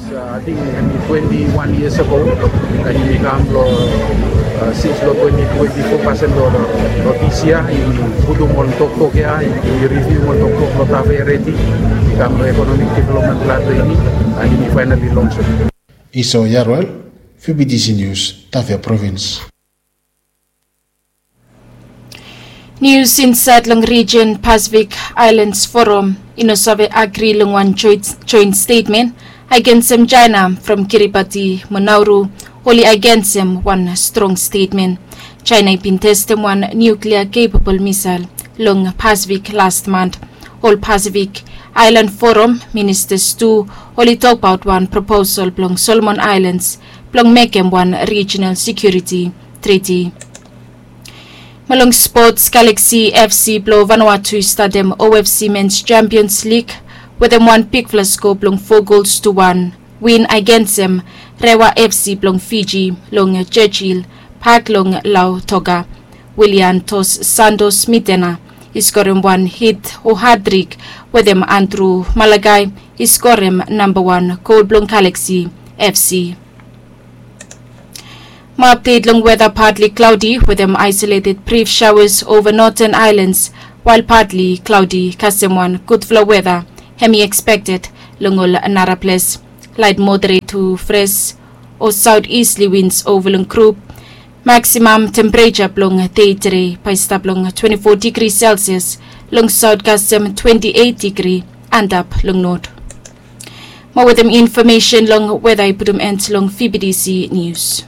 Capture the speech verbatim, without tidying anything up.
Ating hemi twenti wan yias ago, na hemi kam long sins long twenti twenti fo pasin long dis yia. Hemi putum ol toktok ya, hemi riviu ol toktok long tafea redi i kam long ekonomik developmen plan blong hemi, na hemi fainali lonsum. Iso Yaruel, V B T C News, Tafea Provins. Nius insaed long rijin Pasifik Aelans Forum i no save agri long wan joint stetmen agensem Jaena from Kiribati mo Nauru. Oli agensem wan strong stetmen. Jaena i bin testem wan niuklia kepabol misael long Pasifik las mant. Ol Pasifik Aelan Forum ministas tu oli tokbaot wan proposal blong Solomon Aelans blong mekem wan rijinal sekiuriti triti. Mo long spots, Galaxy F C blong Vanuatu i statem O F C Mens Champions League wetem wan bigfala sko blong fo gols tu wan win agensem Rewa F C blong Fiji long Churchill Park long Lautoka. Willian Dos Santos Mitena i skorem wan hit o hatrik wetem Andrew Malakai i skorem nambawan gol blong Galaxy F C. Mo apdet long weta, partly cloudy wetem isolated brief showers over northern islands, while partly cloudy kasem wan gudfala weta hemi expected long ol nara ples. Light moderate to fresh o southeasterly winds over long group. Maximum temperature blong dei tede bae i stap long twenty four degrees Celsius long south kasem twenty eight degree antap long north. Mo wetem infomesen long weta i putum end long V B T C News.